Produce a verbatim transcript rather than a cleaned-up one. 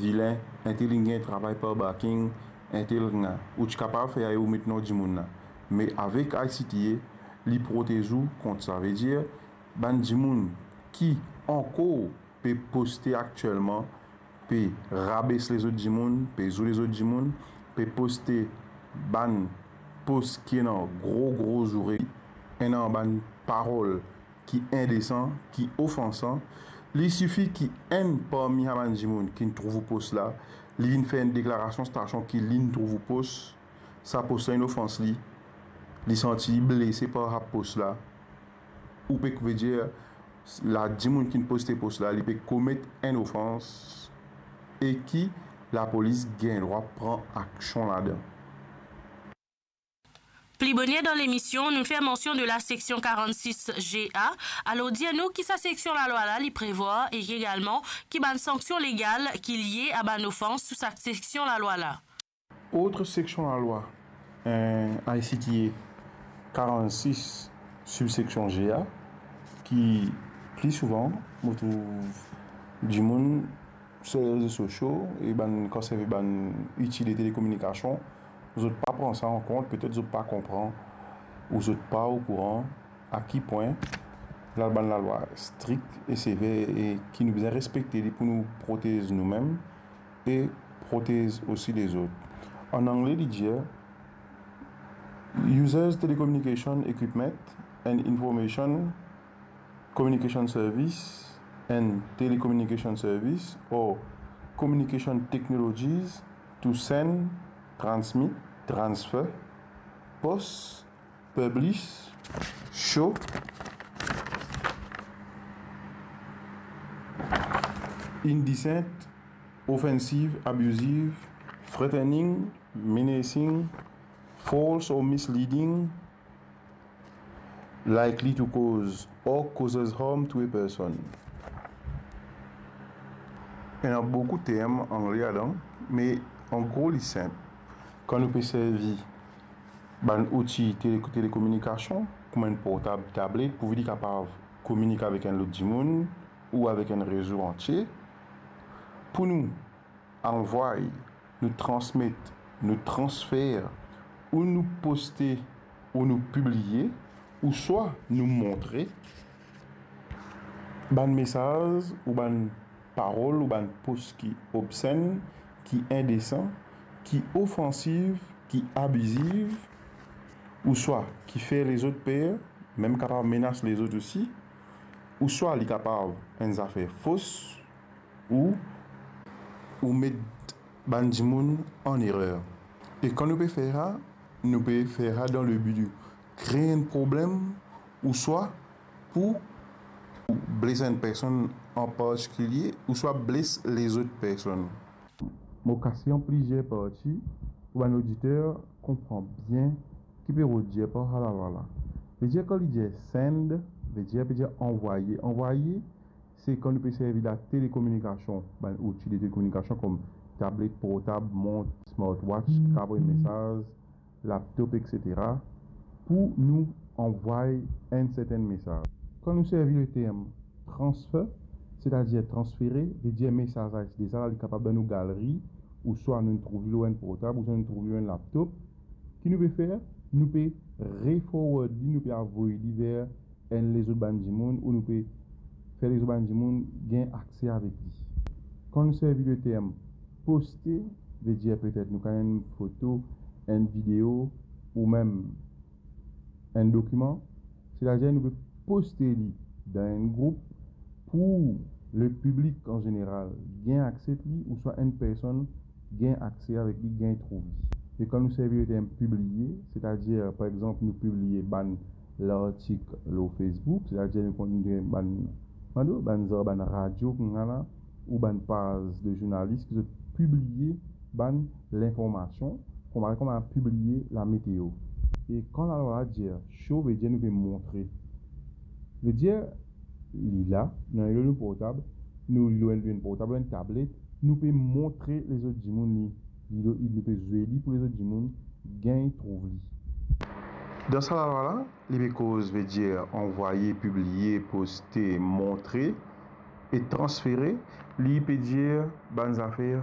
vilin, entel inn gagn travay par backing, entel inn gagn, ou ti kapav fer ayo ou met non dimoun la. Me avek I C T A, li protez ou kont sa. Vedir, bann dimoun ki ankor pe poste aktielman, pe rabes lezot dimoun, pe zoule lezot dimoun, pe poste bann post ki ena gro, gro zoure, ena bann parol ki indesan, ki ofansan, li sifi ki enn parmi sa bann dimoun ki'nn trouv ou post la, li vinn fer enn deklarasion stasion ki li'nn trouv ou post, sa post la inn ofans li, li santi li blese par sa post la, ou pe vedir la dimoun ki'nn poste post la, li pe komet enn ofans e ki lapolis gagn drwa pran aksion ladan. Pli boner dan lemision, nou fer mansion de la seksion karannsis G A. Alor, dir nou ki sa seksion lalwa la li prevwar e egalman ki bann sanksion legal ki lie a bann ofans sou sa seksion lalwa la. Ot seksion lalwa, eh, I C T A karannsis, sibseksion G A, ki pli souvan, mo trouv dimoun sir rezo sosio e bann, kan servi bann outi de telekominikasion, zot pa pran sa an kont, petet zot pa konpran ou zot pa okouran a ki pwin la bann lalwa strik e sever e ki nou bizin respekte li pou nou protez noumem e protez osi lezot. An angle, li dir, Users telecommunication equipment and information communication service and telecommunication service or communication technologies to send, transmit, transfer, post, publish, show, indecent, offensive, abusive, threatening, menacing, false or misleading, likely to cause or causes harm to a person. Ena boukou term angle ladan, me an gro li sinp. Kan nou pe servi bann outi tele-, telekominikasion, kouma enn portab, tablet, pou li kapav kominike avek enn lot dimoun ou avek enn rezo antie, pou nou anvway, nou transmet, nou transfer, ou nou poste, ou nou pibliye, ouswa nou montre bann mesaz ou bann parol ou bann post ki obsenn, ki indesan, ki ofansif, ki abiziv, ouswa ki fer lezot per, mem kapav menas lezot osi, ouswa li kapav enn zafer fos, ou, ou met bann dimoun an erer. E kan nou pe fer sa, nou pe fer sa dan le bi de kree enn problem, ouswa pou bles enn personn an partikilie, ouswa bles lezot personn. Mo kase an plizier parti pou bann oditer konpran bien ki pe rod dir par sa lalwa la. Vedir kan li dir send, vedir, vedir anvwaye. Anvwaye, se kan nou pe servi la telekominikasion, bann outi de telekominikasion kom tablet, portab, mont, smartwatch, ki kapav anvoy mesaz, laptop, et cetera, pou nou anvway enn sertenn mesaz. Kan nou servi le term transfer, setadir transfere, vedir mesaz la, deza la, li kapav dan nou galri, ouswa nou trouv li lor enn portab, ouswa nou trouv li lor enn laptop. Ki nou pe fer? Nou pe re-forward li, nou pe avoy li ver enn lezot bann dimoun, ou nou pe fer lezot bann dimoun gagn akse avek li. Kan nou servi le term poste, vedir petet nou kapav enn foto, enn video, ou mem enn dokiman, setadir nou pe poste li dan enn group pou le piblik an zeneral gagn akse li, ouswa enn personn gagn akse avek li, gagn trouv li. E kan nou servi le term pibliye, setadir, par exanp, nou pibliye bann lartik lor Facebook, setadir nou konn bann, bann, bann zar, bann radio, koumsa la, ou bann paz de zournalis ki zot pibliye bann linformasion, kouma, kouma pibliye lameteo. E kan lalwa la dir show, vedir nou pe montre. Vedir, li la, nou ena li lor nou portab, nou li lor enn portab, lor enn tablet, nou pe montre lezot dimoun li, li, nou pe zwe li pou lezot dimoun gagn trouv li. Dan sa lalwa la, li pe koz, vedir anvwaye, pibliye, poste, montre e transfere, li pe dir bann zafer